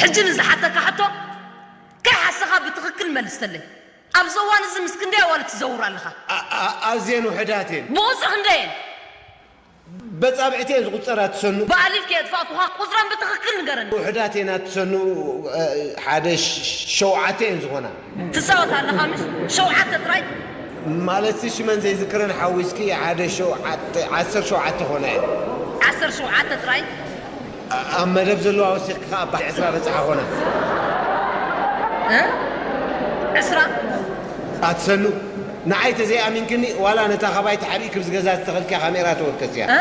ሕጂ ንዝሓተካ ሕቶ ከይሓሰኻ ብትኽክል መልስተለይ። ኣብዚ እዋን እዚ ምስ ክንደይ ኣዋልድ ትዘውር ኣለኻ? ኣዝየን ውሕዳት እየን። ብቑፅሪ ክንደይ እየን? በጻብዕቲ እየን ዝቑጸራ ትሰኑ። ብኣሊፍ ከየጥፋእኩኻ ቁጽረን ብትኽክል ንገረኒ። ውሕዳት እየን ኣትሰኑ። ሓደ ሸውዓተ እየን ዝኾና። ትጻወት ኣለኻ ምሽ? ሸውዓተ ጥራይ? ማለትሲ ሽመን ዘይዝክረን ሓዊስኪ ሓደ ሸውዓተ፣ ዓሰርተ ሸውዓተ ኾና እየን። ዓሰርተ ሸውዓተ ጥራይ? ኣብ መደብ ዘለዋ ወሲኽካ ኣብ ባሕሪ ዕስራ በጽሓ ኾና። እ? ዕስራ? ኣትሰኑ፣ ንዓይ ተዘይኣሚንክኒ ዋላ ነታ ካባይ ተሓቢእኪ ብዝገዛ ዝተኸልኪያ ካሜራ ተወከስያ። እ?